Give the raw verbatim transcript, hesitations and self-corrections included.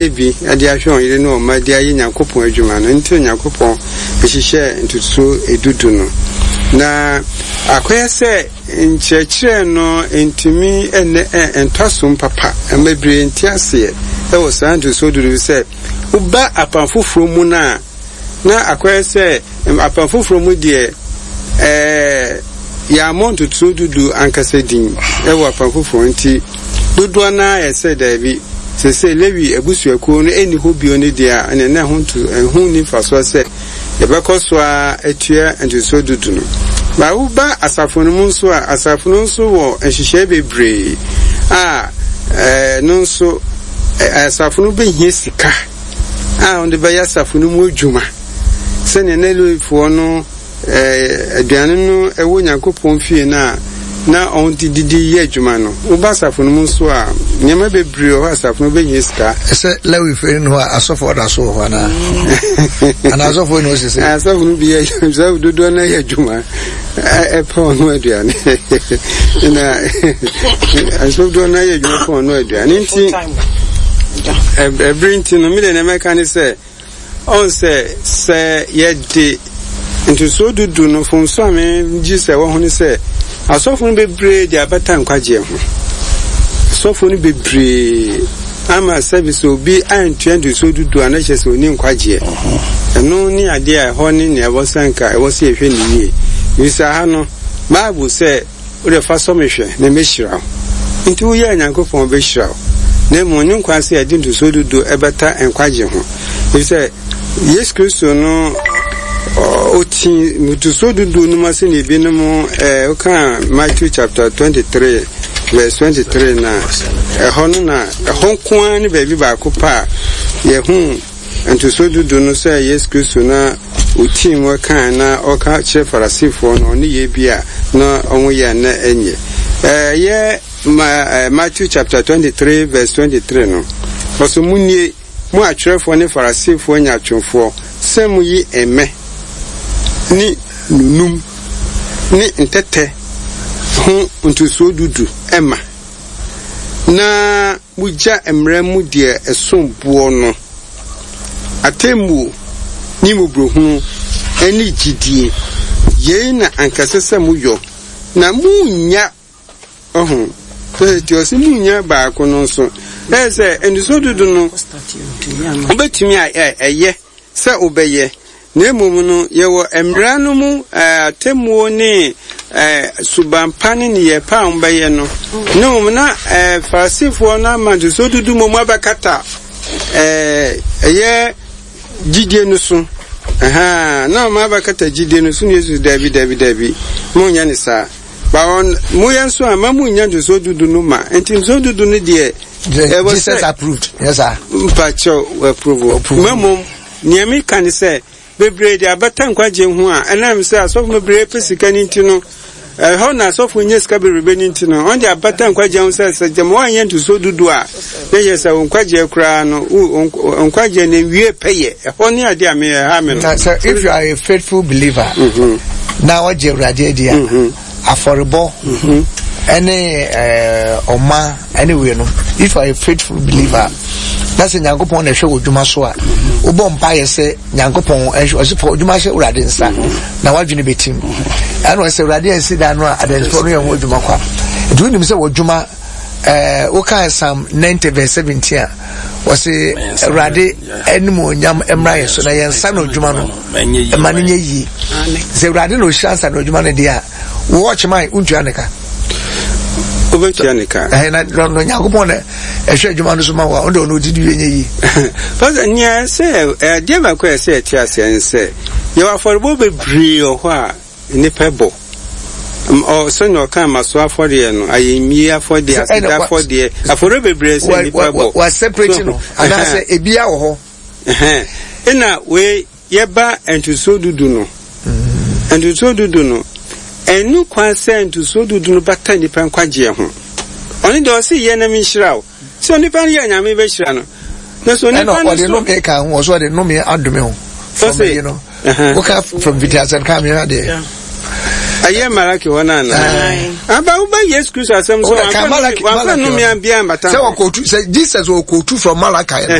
Bi de ahwɛ wɔn yere ne wɔn mma de ayɛ Nyankopɔn adwuma no nti na Nyankopɔn hyehyɛɛ ntotosoɔ du du no. Na akɔyɛ sɛ nkyerɛkyerɛ no ntumi nnɛ ntɔ asom papa ma bebree nte aseɛ wɔ saa ntotosoɔ du du sɛ woba Apam Foforɔ mu no a, Na akɔyɛ sɛ Apam Foforɔ mu deɛ, ɛɛ, yɛammɔ ntotosoɔ du du ankasa din wɔ Apam Foforɔ nti, dodoɔ no ara yɛ sɛ daabi, seesei Lewi abusuakuo no nni hɔ bio no deɛ a, ɛnneɛ na ɛho nto, ɛho nni mfasoɔ sɛ yɛbɛkɔ so ara atua ntotosoɔ du du no. Ba woba asafo no mu nso a, asafo no nso wɔ nhyehyɛe bebree a ɛno nso asafo no bɛhia sika a wɔde bɛyɛ asafo no mu adwuma sɛnea na Lewifoɔ no aduane no wɔ Nyankopɔn fie no a na wɔde didi yɛ adwuma no. Woba asafo no mu nso a, nneɛma bebree wɔ hɔ a asafo no bɛhia sika. Sɛ Lewifoɔ no hɔ a, asɔfoɔ da so wɔ hɔ anaa? Anaa asɔfoɔ no sese? Asɔfo no bi yɛ asɔfo dodoɔ no yɛ adwuma ɛpɛ ɔno aduane na asɔfo dodoɔ no yɛ adwuma pɛ ɔno aduane nti ɛbere nti no mi de nea mɛka ne sɛ ɔn sɛ sɛ yɛde ntosoɔ dudu no mfomso a megye sɛ ɛwɔ ho ne sɛ asɔfo no bebree de abata nkwagyeɛ ho. Asɔfo no bebree ama sɛbi sɛ obi antua ntosoɔ dudu a na kyerɛ sɛ ɔni nkwagyeɛ. Ɛno ne adeɛ a ɛhɔ ne nea ɛwɔ sɛ nka ɛwɔ sɛ yɛhwɛ no yie. Ɛfiri sɛ ha no Bible sɛ Wo deɛ fa sɔ me hwɛ, na mɛhyira wo. Enti woyɛ a Nyankopɔn bɛhyira wo. Na mmom ɔnye nkwa sɛ yɛde ntosoɔ du du bɛta nkwagye ho. Ɛfiri sɛ Yesu Kristo no ɔti ntosoɔ du du no mu sɛdeɛ ebinom ɛɛ woka Matthew chapter twenty three verse twenty three na ɛhɔ no na ɛhɔ nko ara ne baabi baako pa a yɛhu Ntosoɔ du du no sɛ Yesu Kristo na ɔtii mu kae na ɔka kyerɛ Farisifoɔ no ɔne yɛ bi a na wɔn yɛ a na ɛnyɛ. Ɛyɛ ma Matthew chapter twenty three verse twenty three no, ɔsɛ monnie, mo atwerɛfoɔ ne Farisifoɔ nyaatwomfoɔ, sɛ moyi mmɛ ne nunum ne ntɛtɛ ho ntosoɔ du du ma, na Mogya mmara mu deɛ ɛsom boɔ no, atemmuo ne mmɔborɔhunu ne gyidie, yei na anka ɛsɛ sɛ moyɔ, na monnya, ɔho, nti ɔse monnya baako no nso, ɛyɛ sɛ nniso dodo no, wobɛtumi a ɛyɛ sɛ wobɛyɛ, na mmom no, yɛwɔ mmara no mu atemmuo ne suban pa ne nneyɛɛ pa a wɔbɛyɛ no, na mmom na Farisifoɔ no ama ntosoɔ dudu mmom abɛkata ɛyɛ gyidie no so. Ɛhaa, na wɔn abɛkata gyidie no so na Yesu daabi, daabi, daabi, monyɛ ne saa. Ba wɔn, moyɛ nso a, ma monnya ntosoɔ dudu no ma. Nti ntosoɔ dudu no deɛ, ɛwɔ sɛ. Jesus approved, yes sir. Mpakyɛw, approve. Mmom, Nea meka ne sɛ, bebree de abata nkwagye ho a, ɛnam sɛ asɔfo bebree pɛ sika no nti no, ɛhɔ na asɔfo nya sika bebrebe no nti no, wɔn de abata nkwagye ho sɛ sɛ gyama wɔanyɛ ntosoɔ dudu a, na kyerɛ sɛ wo nkwagyeɛ koraa no, wo nkwagyeɛ no nwie pɛyɛ. Ɛhɔ ne adeɛ a me ɛha me no. Na sɛ if you are a faithful believer, mm-hmm. na wɔgye Awurade adi a, mm-hmm. afɔrebɔ mm-hmm. ɛne ɛɛ ɔma ɛne wei no, if you are a faithful believer, na sɛ Nyankopɔn na ɛhwɛ wɔ dwuma so a, wobɔ mpaeɛ sɛ Nyankopɔn ɛhwɛ ɔsɛ fa adwuma hyɛ Awurade nsa na wadwene bɛtim. Ɛna ɔsɛ Awurade ansi dan no a adansifoɔ no yɛ ho adwuma kwa. Nti wonim sɛ wɔ dwuma ɛɛ wokaa Psalm ninety verse seventeen a wɔsi Awurade animuonyam mmra yɛn so na yɛn nsa na odwuma no ɛma no nyɛ yie. Sɛ Awurade na ohyira nsa na odwuma no deɛ a wɔ ɔkyeman wontua ne ka. Wobɛtua ne ka. Ɛhɛn na na Onyankopɔn na ɛhwɛ adwuma no so ma wo a ɔno deɛ ɔno ɔdi wie nyɛ yie. Pastor nea ɛsɛ adeɛ baako a ɛsɛ yɛte aseɛ ne sɛ yɛwɔ afɔrebɔ bebree wɔ hɔ a nnipa bɔ. Ɔ sɛnea ɔka mmasoɔ afɔdeɛ no, ayɛmie afɔdeɛ, aseda afɔdeɛ, afɔreɛ bebree sɛ nnipa bɔ. Wa separate no anaasɛ ebia wɔ hɔ. Ɛna wei yɛba ntosoɔ dudu no. Ntosoɔ dudu no, ɛnni kwan sɛ ntosoɔ dudu no bata nnipa nkwagyeɛ ho. Ɔno deɛ ɔse yɛ na menhyira wo. Sɛ onipa no yɛ a Nyame bɛhyira no. Na sɛ onipa no so. Ɛna ɔde nnome ka ho, ɔso ɔde nnome adome ho. From yi no, woka from mfitiaseɛ no ka mehwɛ adeɛ. Ɛyɛ Malaki hɔ no ana? Aba woba Yesu Kristo asɛm so, Wọ́n ka Malaki wamfa Malaki nnome biara mbata sɛ ho. wɔkɔtu sɛ Jesus wɔkɔtu from Malachi no.